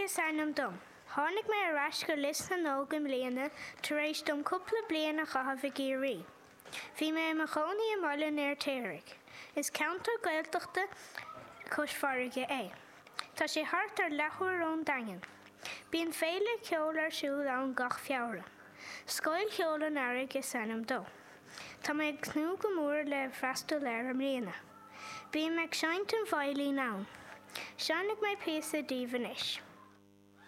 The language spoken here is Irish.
is ainm dom. Tháinig mé ar ais go Lios na nÓg i mbliana tar éis dom cúpla bliain a chaitheamh i gCiarraí. Bhí mé i mo chónaí i mBaile an Fheirtéaraigh. Is ceantar Gaeltachta cois farraige é. Tá sé thart ar leathuair ón Daingean. Bíonn féile ceoil ar siúl ann gach Feabhra. Scoil Cheoil an Earraigh is ainm dó. Tá mé ag tnúth go mór le freastal air i mbliana. Bím ag seinnt an veidhlín ann. Seinnfidh mé píosa daoibh anois.